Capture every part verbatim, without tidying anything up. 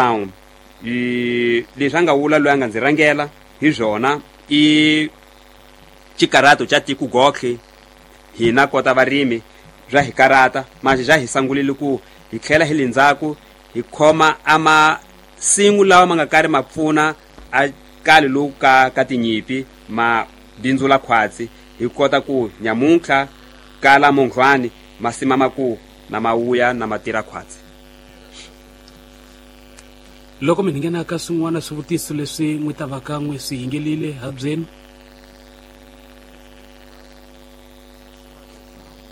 I leswi a nga vula loyi a nga ndzi rhangela hi swona i xikarato xa tiko gotlhe hina kota varimi bya hi karata manje bya hi sangulile ku hi tlhela hi le ndzhaku hi khoma a masimu lawa ma nga karhi ma pfuna a kale lowu ka ka tinyipi ma bindzula khwatsi hi kota ku nyamuntlha kala munghwani masima ma ku na mawuya na matira khwatsi. Loko mi nghena ka swin'wana swivutiso leswi n'wi ta va ka n'wi swi yingelile habyeni.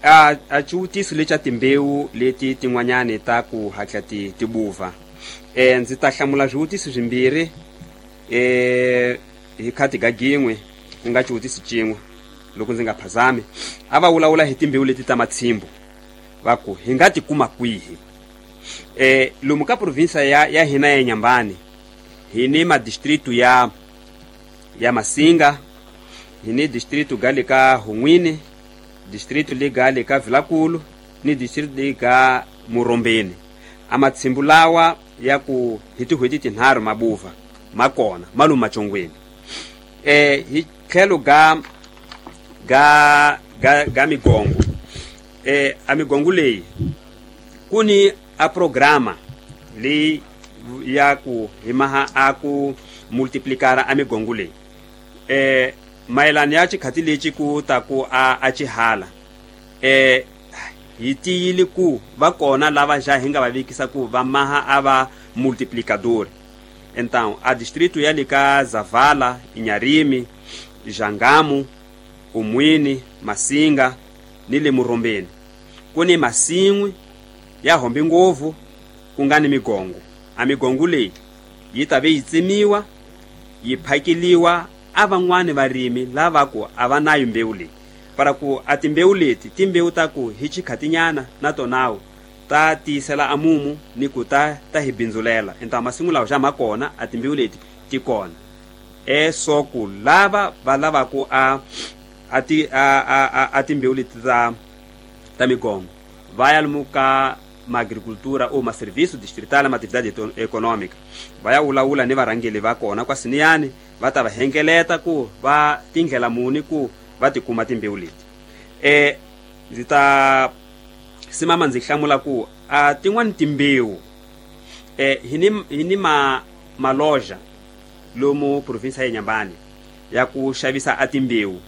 A a xivutiso lexa timbewu leti tin'wanyani ta ku hatla ti ti buva eh ndzi ta hlamula swivutiso swimbirhi eh hi khati ga gin'we ku nga xivutiso xin'we loko ndzi nga phazami. A va vulavula hi timbewu leti ta matshimbu va ku hi nga ti kuma kwihi. Eh lomu ka provinsa ya ya hina ya Nyambani hi ni madistritu ya ya Masinga, hi ni distritu ga le ka Hun'wini, distritu le ga le ka Vilakulu ni distritu le ga Murombeni. A matshimbu lawa ya ku hi tin'hweti tinharhu mabuva ma kona ma lomu machongweni. Eh hi tlhelo ga ga ga ga migongo eh a migongo leyi ku ni a programa leyi ya ku hi maha a ku multiplicara a migongo leyi eh mayelana ya xikhati lexi ku ta ku a a xihala eh hi tiyile ku va kona lava xa hi nga va vekisa ku va maha a va multiplicador. Então a distrito ya le ka Zavala, Inharime, Jangamo, Umwini, Masinga ni le Murombeni ku ni masin'wi ya hombe ngopfu ku nga ni migongo. A migongo leyi yi ta ve yi tsemiwa yi phakeliwa a van'wani varimi lava ku a va nayo mbewu leyi para ku a timbewu leti timbewu ta ku hi xikhatinyana na tonawo ta tiyisela a mumu ni ku ta ta hi bindzulela. Então masimu lawa xa ma kona a timbewu leti ti kona e so ku lava va lavaku a a ti a a a timbewu leti ta ta migongo va ya lomu ka maagricultura ou maserviço distrital ma atividade econômica va ya vulavula ni varhangeli va kona kwasiniyani va ta va hengeleta ku va tindlela muni ku va tikuma timbewu leti. Eh ndzi ta simama ndzi hlamula ku a tin'wani timbewu eh hi ni hi ni ma maloja lomu provinsa ya Nyambani ya ku xavisa a timbewu.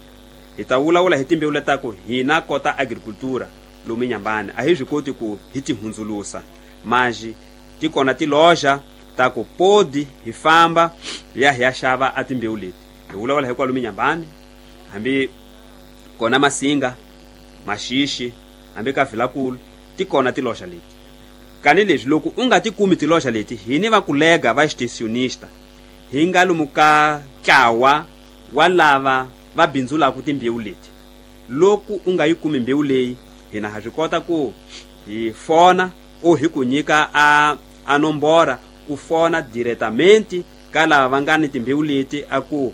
Hi ta vulavula hi timbewu letaku hina kota agricultura lomu Nyambani a hi swi koti ku hi ti hundzulusa manji ti kona tiloja ta ku podi hi famba ya hi ya xava a timbewu leti. Hi vulavula hi kwalomu Nyambani hambi kona Masinga, Maxixi, hambi ka Vilakulu ti kona tiloja leti. Kani leswi loko u nga ti kumi tiloja leti hi ni va kulega va extensionista hi nga lomu ka ntlawa wa lava va bindzulaka timbewu leti. Loko u nga yi kumi mbewu leyi hina ha swi kota ku hi fona o hi ku nyika a a nombora u fona diretamente ka lava va nga ni timbewu leti a ku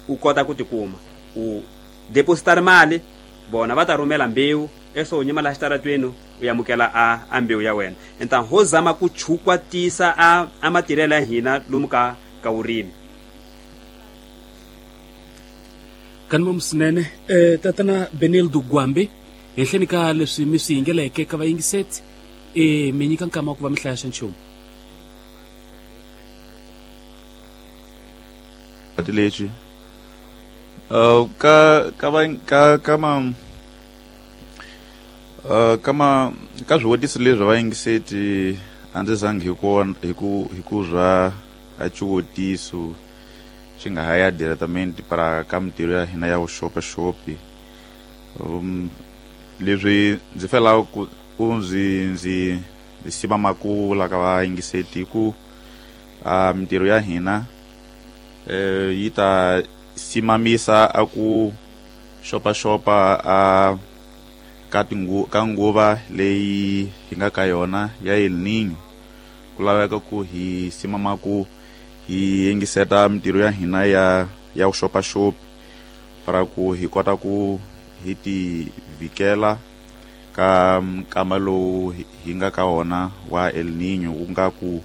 u kota ku tikuma u depositar mali vona va ta rhumela mbewu eso u nyima laha xitaratweni u amukela a a mbewu ya wena. Então ho zama ku chukwatisa a a matirhelo ya hina lomu ka ka vurimi. Kanimo swinene eh tatana Benildo Gwambi henhleni ka leswi mi swi yingeleke ka vayingiseti e mi nyika nkama wa ku va mi hlaya xa nchumu. Lexi uh ka ka va ka ka ma uh ka ma ka swivutiso leswi va yingiseti a ndzi zangi hi ku hi ku hi ku zwa a xivutiso xi nga ha ya diretamente para ka mintirho ya hina ya vuxopaxopi. Um leswi ndzi felaka ku ku ndzi ndzi ndzi siva makula ka vayingiseti ku a mintirho ya hina eh yi ta simamisa a ku xopaxopa a ka tingu ka nguva leyi hi nga ka yona ya El Niño. Ku laveka ku hi simama ku hi yingiseta mintirho ya hina ya ya vuxopaxopi para ku hi kota ku hi ti vikela ka nkama lowu hi nga ka wona wa El Niño ku nga ku